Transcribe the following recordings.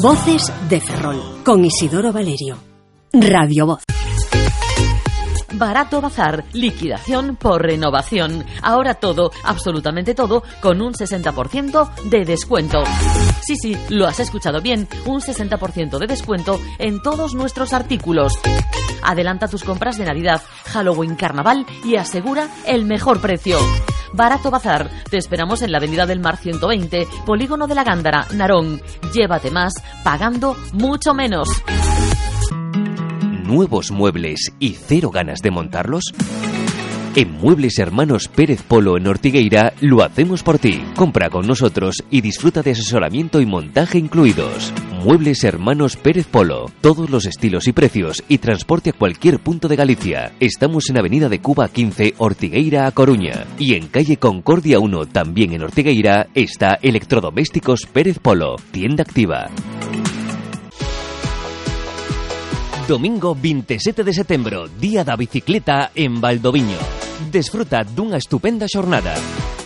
Voces de Ferrol, con Isidoro Valerio. Radio Voz. Barato Bazar, liquidación por renovación. Ahora todo, absolutamente todo, con un 60% de descuento. Sí, lo has escuchado bien, un 60% de descuento en todos nuestros artículos. Adelanta tus compras de Navidad, Halloween, Carnaval y asegura el mejor precio. Barato Bazar, te esperamos en la Avenida del Mar 120, Polígono de la Gándara, Narón. Llévate más, pagando mucho menos. ¿Nuevos muebles y cero ganas de montarlos? En Muebles Hermanos Pérez Polo en Ortigueira lo hacemos por ti. Compra con nosotros y disfruta de asesoramiento y montaje incluidos. Muebles Hermanos Pérez Polo. Todos los estilos y precios y transporte a cualquier punto de Galicia. Estamos en Avenida de Cuba 15, Ortigueira a Coruña. Y en calle Concordia 1, también en Ortigueira, está Electrodomésticos Pérez Polo. Tienda activa. Domingo 27 de setembro, Día da Bicicleta en Valdoviño. Desfruta dunha estupenda xornada.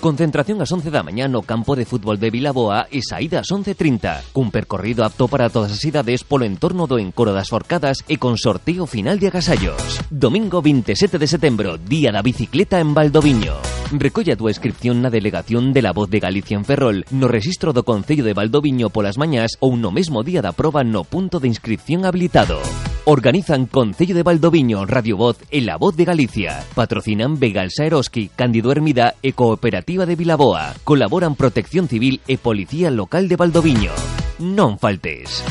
Concentración ás 11 da mañá no campo de fútbol de Vilaboa e saída ás 11:30. Cun percorrido apto para todas as idades polo entorno do Encoro das Forcadas e con sorteo final de agasallos. Domingo 27 de setembro, Día da Bicicleta en Valdoviño. Recolla a túa inscripción na delegación de La Voz de Galicia en Ferrol, no rexistro do Concello de Valdoviño polas mañás ou no mesmo día da proba no punto de inscripción habilitado. Organizan Concello de Valdoviño, Radio Voz e La Voz de Galicia. Patrocinan Begalsa Eroski, Cándido Hermida e Cooperativa de Vilaboa. Colaboran Protección Civil e Policía Local de Valdoviño. Non faltes.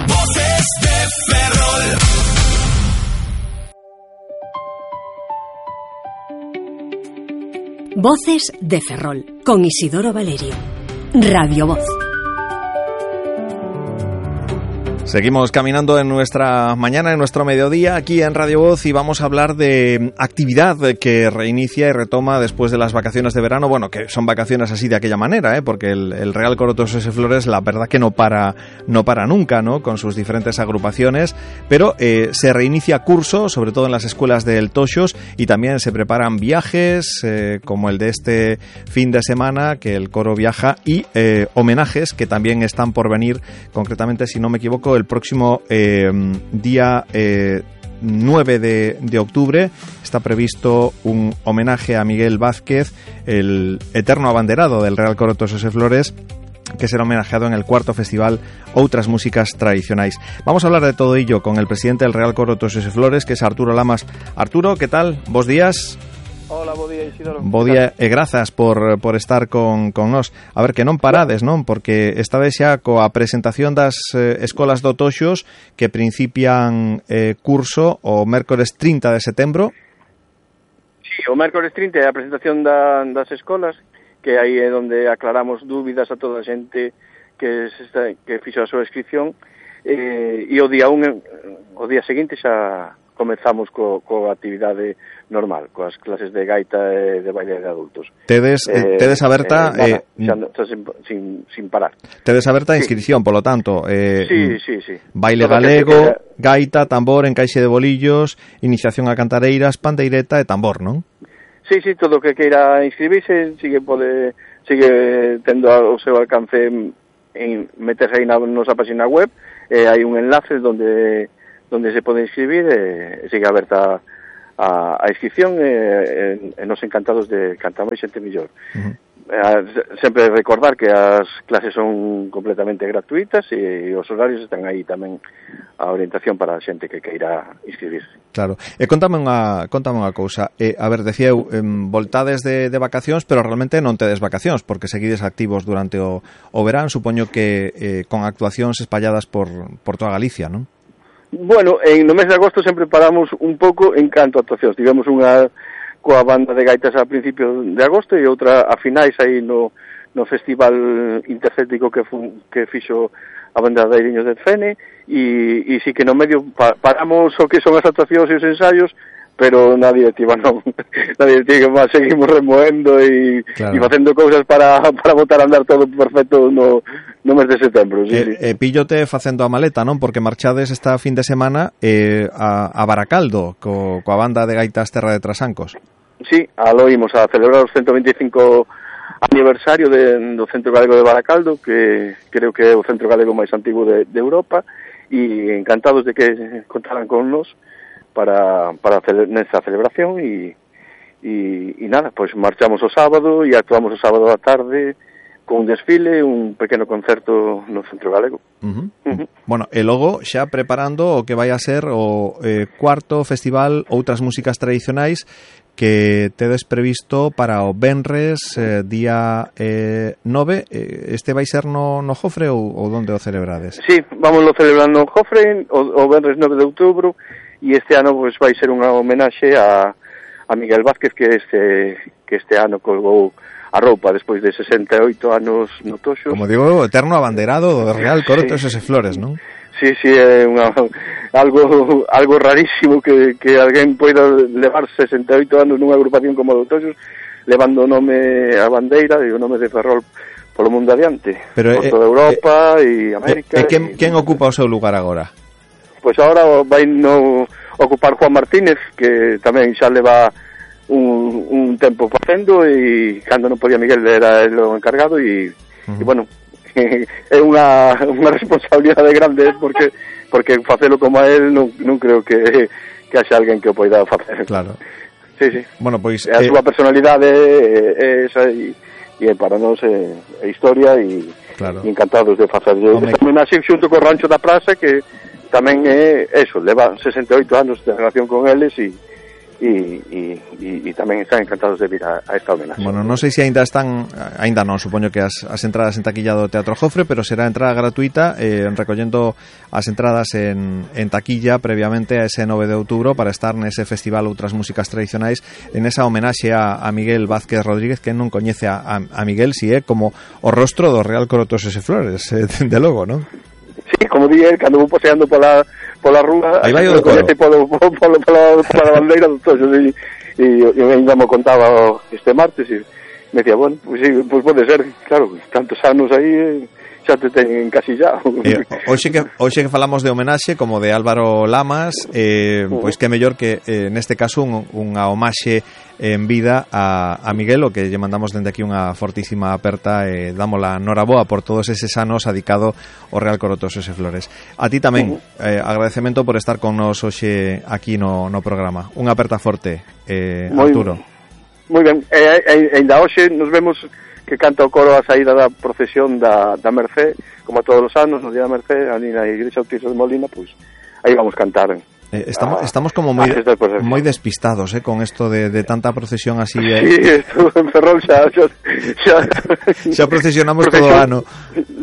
Voces de Ferrol. Voces de Ferrol, con Isidoro Valerio. Radio Voz. Seguimos caminando en nuestra mañana, en nuestro mediodía, aquí en Radio Voz, y vamos a hablar de actividad que reinicia y retoma después de las vacaciones de verano. Bueno, que son vacaciones así de aquella manera, porque el Real Coro Tosos e Flores, la verdad que no para nunca, ¿no? Con sus diferentes agrupaciones, pero se reinicia curso, sobre todo en las escuelas del Toxos, y también se preparan viajes, como el de este fin de semana, que el coro viaja, y homenajes que también están por venir, concretamente, si no me equivoco, el próximo día 9 de octubre está previsto un homenaje a Miguel Vázquez, el eterno abanderado del Real Coro Tosos e Flores, que será homenajeado en el 4º Festival Outras Músicas Tradicionais. Vamos a hablar de todo ello con el presidente del Real Coro Tosos e Flores, que es Arturo Lamas. Arturo, ¿qué tal? Bos días. Hola, bo día, Isidoro. Bo día e grazas por estar con nós. A ver, que non parades, non? Porque estades xa coa presentación das escolas do Toxos, que principian curso o mércores 30 de setembro. Sí, o mércores 30 é a presentación das escolas, que aí é onde aclaramos dúbidas a toda a xente que fixo a súa inscripción, e o día seguinte xa comezamos coa actividade normal, coas clases de gaita e de baile de adultos. Tedes aberta sin parar. Tedes aberta a inscripción, polo tanto, sí. Baile galego, gaita, tambor, encaixe de bolillos, iniciación a cantareiras, pandeireta e tambor, non? Sí, todo o que queira inscribirse sigue tendo o seu alcance en meterse aí na nosa página web, hai un enlace onde se pode inscribir, sigue aberta a inscripción, e nos encantados de cantar máis xente mellor. Sempre recordar que as clases son completamente gratuitas e os horarios están aí tamén, a orientación para a xente que queira inscribirse. Claro. E contame unha cousa. A ver, decía eu, voltades de vacacións, pero realmente non tedes vacacións, porque seguides activos durante o verán, supoño que con actuacións espalladas por toda Galicia, non? Bueno, no mes de agosto sempre paramos un pouco en canto a actuacións. Tivemos unha coa banda de gaitas a principios de agosto e outra a finais aí no Festival Intercéltico que fixo a banda de Airiños de Fene, e sí que no medio paramos o que son as actuacións e os ensaios, pero na directiva non. Na directiva seguimos remoendo e facendo cousas para botar a andar todo perfecto no mes de setembro. Sí. Píllote facendo a maleta, non? Porque marchades esta fin de semana a Baracaldo coa banda de gaitas Terra de Trasancos. Sí, aló imos a celebrar os 125 aniversario do Centro Galego de Baracaldo, que creo que é o centro galego máis antigo de Europa, e encantados de que contaran con nos para nesa celebración e nada, pois marchamos o sábado e actuamos o sábado da tarde con un desfile, un pequeno concerto no Centro Galego. Bueno, e logo xa preparando o que vai a ser o cuarto festival Outras Músicas Tradicionais que tedes previsto para o venres día 9. Este vai ser no Jofre ou onde o celebrades? Sí, vamos lo celebrando no Jofre o venres 9 de outubro, e este ano pues, vai ser unha homenaxe a Miguel Vázquez, que este ano colgou a roupa despois de 68 anos no Toxos. Como digo, eterno abanderado do Real Coro Toxos e Flores, non? Sí, é algo rarísimo que alguén poida levar 68 anos nunha agrupación como o Toxos, levando o nome a bandeira e o nome de Ferrol polo mundo adiante, por toda Europa e América. E quen ocupa o seu lugar agora? Pois agora vai no ocupar Juan Martínez, que tamén xa leva un tempo facendo, e cando non podía Miguel era el o encargado, e bueno, é unha responsabilidade grande, porque facelo como a él non creo que haxa alguén que o poida facer. Claro. Sí. Bueno, pois a súa personalidade é esa, e para nós é historia, e claro, encantados de facerlle homenaxe xunto co Rancho da Praza, que tamén é eso, leva 68 anos de relación con eles, e tamén están encantados de vir a esta homenaxe. Bueno, non sei se ainda non, supoño que as entradas en taquilla do Teatro Jofre, pero será entrada gratuita, recollendo as entradas en taquilla previamente a ese 9 de outubro para estar nese festival Outras Músicas Tradicionais, en esa homenaxe a Miguel Vázquez Rodríguez, que non coñece a Miguel, si é como o rostro do Real Coro Toxos e Flores, de logo, non? Sí, como dije, cando vou paseando pola rúa, aí vai o do coro, pola bandeira do Toxos, e ainda me contaba este martes, e me decía, bueno, pues sí, pues pode ser, claro, tantos anos aí, xa te ten encasillado. Hoxe que falamos de homenaxe como de Álvaro Lamas, pois que mellor que neste caso unha homaxe en vida a Miguel, o que lle mandamos dende aquí unha fortísima aperta e dámola noraboa por todos eses anos adicado ao Real Coro Toxos e Flores. A ti tamén, agradecemento por estar con nos hoxe aquí no programa. Unha aperta forte, Arturo. Moi ben, ainda hoxe nos vemos que canta o coro a saída da procesión da Mercé, como todos os anos, no día da Mercé, ali na Igrexa Autismo de Molina, pois aí vamos cantar. Estamos como moi despistados, con esto de tanta procesión así. Sí, esto en Ferrol xa procesionamos todo o ano.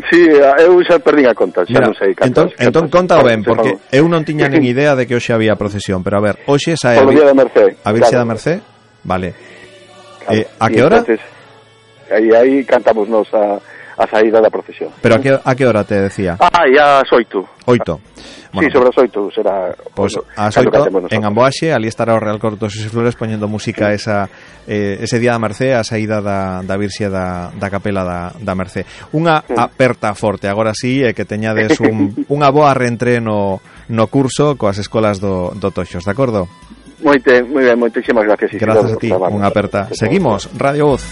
Sí, eu xa perdín a conta, xa non sei cantar. Entón conta ben, porque eu non tiña nin idea de que hoxe había procesión, pero a ver, hoxe sae a Virxe da Mercé, vale. A que hora? Aí cantamos nos a saída da procesión. Pero a que hora te decía? E ás 8. 8. Bueno, sí, sobre as 8 será. Pois ás 8 en Amboaxe, ali estará o Real Coro Toxos e Flores poñendo música ese día da Mercé, a saída da Virxe da Capela da Mercé. Unha aperta forte, agora sí, que teñades unha boa reentré no curso coas escolas do Toxos, de acordo? Moi ben, moitísimas gracias. Gracias a ti, unha aperta. Seguimos, Radio Voz.